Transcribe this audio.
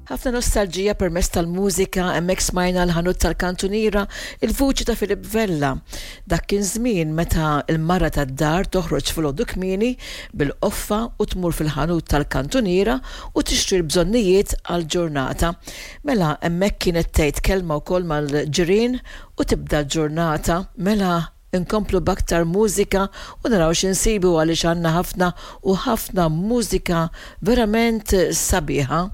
Ħafna nostalġija permezz tal-mużika, hemmhekk smajna l-ħanut tal-kantuniera, il-vuċi ta' Philip Vella. Dak kien żmien meta l-mara tad-dar toħroġ filgħodu kmieni bil-qoffa u tmur fil-ħanut tal-kantuniera u tixtri l-bżonnijiet għall-ġurnata. Mela hemmhekk kienet tgħid kelma wkoll mal-ġirien u tibda l-ġurnata. Mela Inkomplu b'aktar mużika u naraw xi nsibu għaliex għandna ħafna u ħafna mużika verament sabiħa.